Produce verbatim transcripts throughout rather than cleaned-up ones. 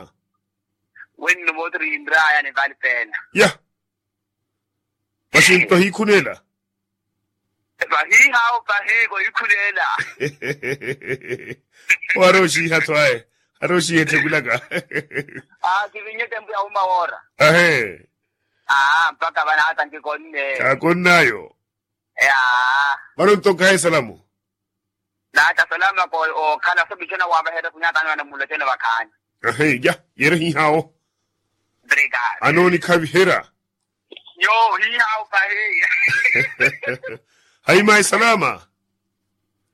ohiha. Wenno mootiri yinraya nivali peena. Ya. Masi nto hiikhuneela. Vahiihawo vahi kohiikhuneela. Wari oxiiha tho aye. Ari oxiiha etthe kulaka. Kivinnye tempu ya wuma woora. Ahe. Mpakha vanaata nkikonne. Kaakonnayo. Vano nto nkahe salamu. Naata salama ko okhala sopichona wavaherya kunyatano anamulochona vakhaani. Ahe ya yeere hihawo. Anooni khaviherya. Yo hihawo pahi. Hayi mayi salama.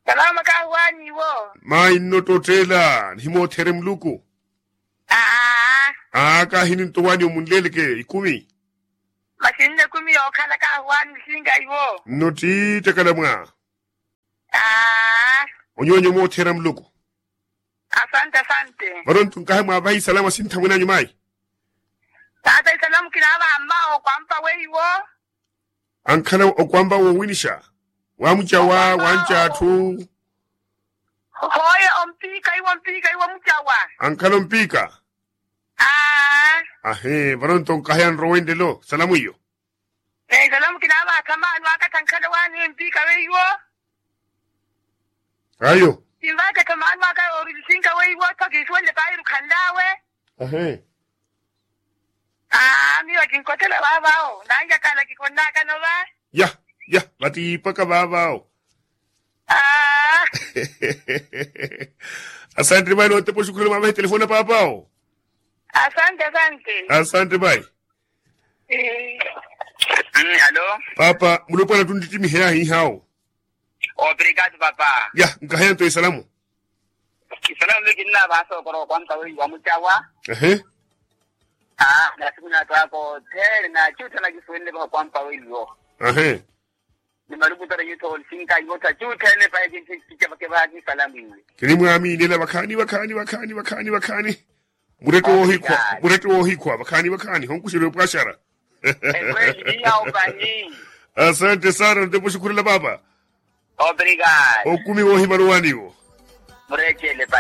Salama kahuwaani iwo. Mayi nno ttottela nihimootherye muluku. Aa. Aa kaahini nto waani omunleleke ikumi. Masi nne ekumi yookhala kahuwaani nisinka iwo. Nno ttiitte kalamwa. Aa. Onyoonyo moothera muluku. Asante asante. Vano nto nkahe mwaavaha isalama sinthamwene anyu mayi. Taata isalama kinaavaha mmawo okwampa weiwo. Ankhala okwampa woowinixa. Waamucawa wanca atthu. Hooye ompiika iwo ompiika iwo mucawa. Ankhala ompiika. Aa. Ahe vano nto nkahe anrowa enlelo salamu iyo. Eesala mukina avaakha maano aka thankhale waani empiika weiwo. Ayo. Kinvaaketha maano aka orilisinka weiwo tho kiisuwenle paahiru khanlaawe. Ahe. Aa miyo kinkothela vaavaawo nanjakaala kikonnaakano va. Ya ya vatiipaka vaavaawo. Aa. Asante vayi notepa oxukhurela mwaavaha etelefoni na paapaawo. Asante asante. Asante vayi. Alo. Paapa mulopwana tunttittimiheya hihawo. Obrigado papa. Ya nkaheya nto isalamu. Isalamu mikinna vasookora okwampa weiwa mucawa. Ehe. Aa nasiku natwaka othene nacuuthana kisuwenle vaha okwampa weiwo. Ehe. Ni maluku tara yutho olisinka yutha cuuthene pahe kinthi kicavake vaha kisalamu iwe. Kinimwaamiinela vakhaani vakhaani vakhaani vakhaani vakhaani. Murette woohikhwa murette woohikhwa vakhaani vakhaani honkuxerya opwaxara. Ekweli hiya opahi. Asante sana ntepo oxukhurela paapa. Obrigado. Okumi woohimala owaaniwo. Murettele.